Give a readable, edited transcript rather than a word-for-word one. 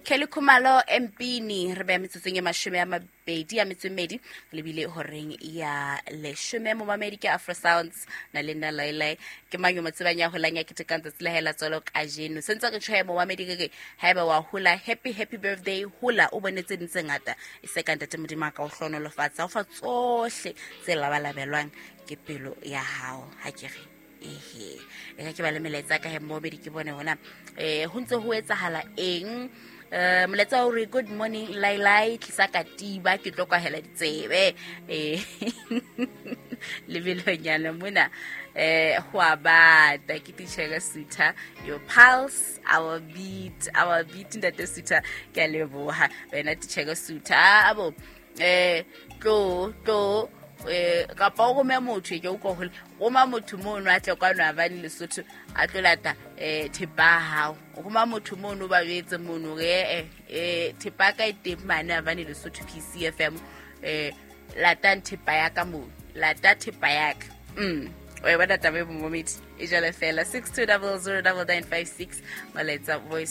Kelly Khumalo Mpini re beya metsotsong e 28 lebile horeng ya 10. Momamedi ke Afro Sounds na le nna Lailai. Ke mang yo mo tsebang ya holang ya ketekang tsatsi la hae la tswalo kajeno? Sentse re tjho momamedi ke re haeba wa hola, happy happy birthday, hola o bone tse ding tse ngata, e se ka ntate Modimo a ka o hlohonolofatsa, o fa tsohle tse labalabelwang ke pelo ya hao. Ha ke re ehe, e ka ke ba le melaetsa ka he momamedi, ke bone hona ho ntse ho etsahala eng. Molaetsa o re, "Good morning Lailai, tlisa katiba ke tlo kwahela ditsebe." Lebelonyana mona ho a bata. Ke titjhere Sutha, your pulse, our beat, our beat. Ntate Sutha, ke a leboha wena titjhere Sutha. Abo tlo tlo kapa o rome motho, ke utlwa hole roma motho mono a tle kwano Avane Lesotho a tlo lata thepa ya hao. Roma motho mono, ba jwetse mono re thepa ya ka e teng mane Avane Lesotho PCFM, latang thepa ya ka mono, lata thepa ya ka. O e bona taba e, momamedi, e jalo fela. 62009956 molaetsa voice.